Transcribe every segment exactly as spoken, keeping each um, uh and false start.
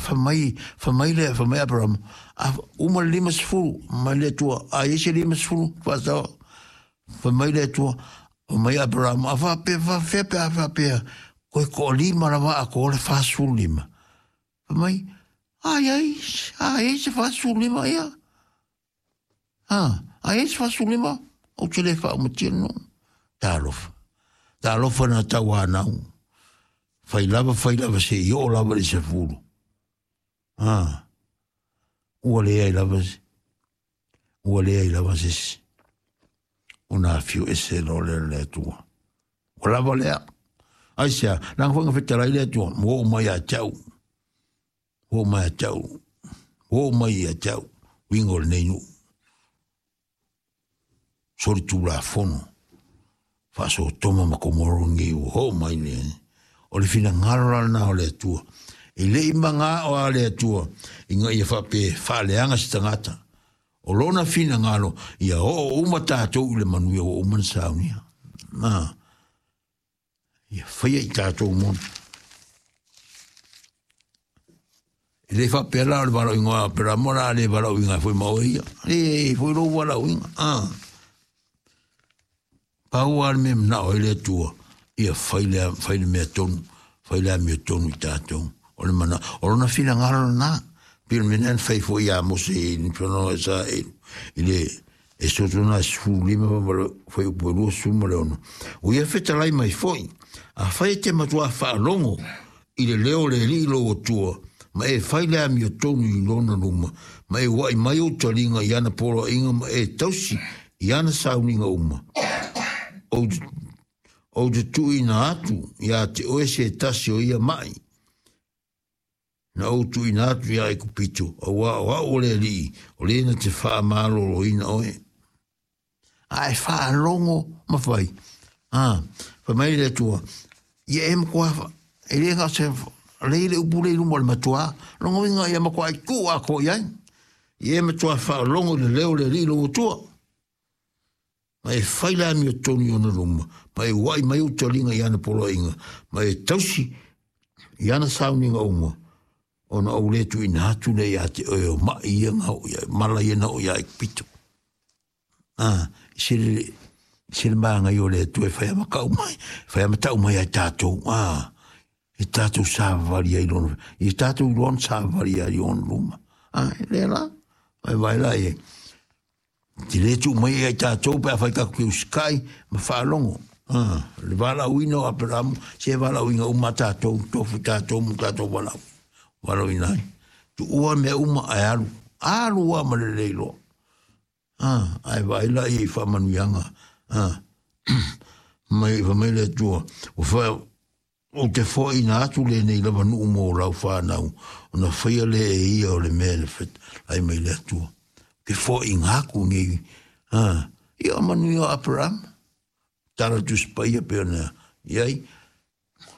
Fai mai, fai mai le, fai mai Aperamo, a uma le lima sefulu, mai le Atua, a i ai se lima sefulu, faasao. Fai mai le Atua, fai mai Aperamo, a faapea, faapea pe a faapea, koe toalima lava atoa le fa sefulu lima. Fai mai, a i ai, a i ai se fa sefulu lima ia. A, a i ai se fa sefulu lima, ou te le faaumatia le nuu. Talofa. Talofa na tauanau. Fai lava, fai lava se i oo lava i le sefulu. A, ua leai lava se, ua leai lava se isi ona afio ese loa lea o le Atua. Ua lava lea. Aisea, leaga foi na fetalai le Atua, ua oo mai ia te au, ua oo mai ia te au, ua oo mai ia te au, uiga o lenei nuu. Solitulafono faa-Sotoma ma Komoro lenei ua oo mai le. O le finagalo la lena o le Atua. E le i magao a le Atua ina ia faapea e faaleaga se tagata. O lona finagalo ia oo uma tatou i le manuia ua uma ona saunia. Na, ia faia i tatou moni. E le faapea la o le valaauina o Aperamo o le a le valaauina ai foi ma oe ia. E i foi lou valaauina. Ah. Pau lava le mea e manao ai le Atua, ia fai le, fai le mea tonu, fai le amiotonu i tatou. O le mana, o lona finagalo lena. Pei o le mea lena na fai foi ia Mose i le tulaga o Israeli, i le Esoto na sefulu lima ma le fuaiupu e luasefulu ma le ono. Ua ia fetalai mai foi, afai e te matua faalogo i le leo o le Alii lou Atua, ma e fai le amiotonu i lona luma, ma e ua'i mai ou taliga i ana poloaiga ma e tausi i ana sauniga uma, ou te, ou te tuuina atu iā te oe se tasi o ia ma'i, na ou tuuina atu iā Aikupito, auā o au o le Alii, o le na te faamaloloina oe. A e faalogo ma fai, a, fai mai le Atua, ia e matua, e le na o se, lei le upu lea i luma o le matua, lona uiga ia matuai tuu atoa i ai. Ia e matua faalogo i le leo o le Alii lou Atua. Ma e fai le amiotonu i ona luma, ma e ua'i mai ou taliga i ana poloaiga, ma e tausi i ana sauniga uma, ona ou le tuuina atu lea iā te oe o ma'i ia na oo ia, mala ia na oo iā Aikupito. A, i se le, i se le māngai o le Atua e fai amatau mai, fai amatau mai ai tātou, a, e tātou savavali ai lona, i tātou iloa ona savavali ai i ona luma. A, e lea la, vaevae la i ai. Te le tuu mai ia i tātou pe afai tatou te usikai ma faalogo. Ah, le valaauina o Aperamo, se valaauina uma a tātou, tofu tātou ma tātou valaau, valaauina ai. Tuua mea uma ae alu, alu lava ma le lelei loa. Ah, ae vaai laia i faamanuiaga. Ah, mai, fai mai le Atua, ua fa, ou te foaiina atu lenei lava nuu mo lau fanau, ona faia lea e ia o le mea na fetalai mai le Atua. Ke foaiina atu nei, a, ia o manuia o Aperama. Tala Tusi Paia pei ona i ai,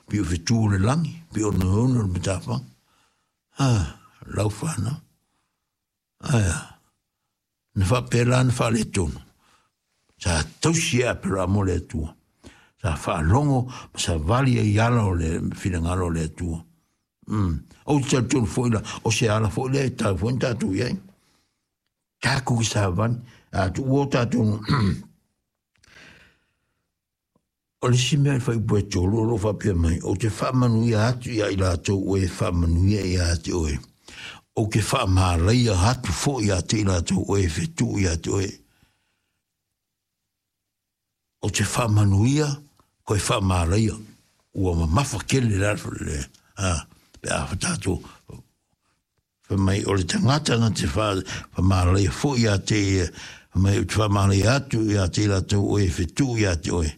pei o fetu o le lagi, pei o oneone o le matafaga. A, lau fanau. Ae a? Na faapea la na faaletonu. Sa tausi e Aperamo le Atua. Sa faalogo ma savali ai i ala o le finagalo o le Atua. Mm. Ou te talitonu foi la, o se ala foi lea e tau foi na tatou i ai. Tatou ki savali, a tuua o tatou O le isi mea i le fuaiupu e tolu o lo o faapea mai, Ou te faamanuia atu iā i latou ua e faamanuia ia te oe, ou te faamalaia atu foi ia te i latou ua e fetuu ia te oe. Ou te faamanuia, koe faamalaia. Ua mamafa tele le ala le, a, pe a fa tatou fai mai o le tagata na te faamalaia foi ia te ia, fai mai ou te faamalaia atu ia te i latou ua e fetuu ia te oe.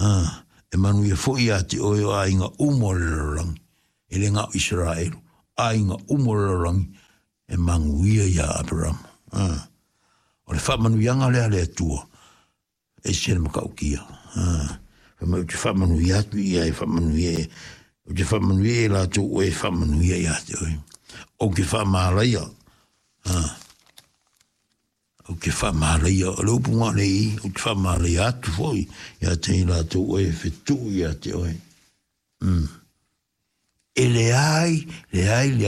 A, e manuia foi ia te oe o aiga uma o le lalolagi, e le na o Isaraelu, aiga uma o le lalolagi e manuia iā Aperamo. A, o le faamanuiaga lea a le Atua, e ese le matautia. A, fai mai ou te faamanuia atu ia e faamanuia e, ou te faamanuia i latou ua e faamanuia ia te oe. Ou te faamalaia, a, ou te faamalaia, o le upu na o le i, ou te faamalaia atu foi ia te i latou ua e fetuu ia te oe. Mm. E leai, leai, leai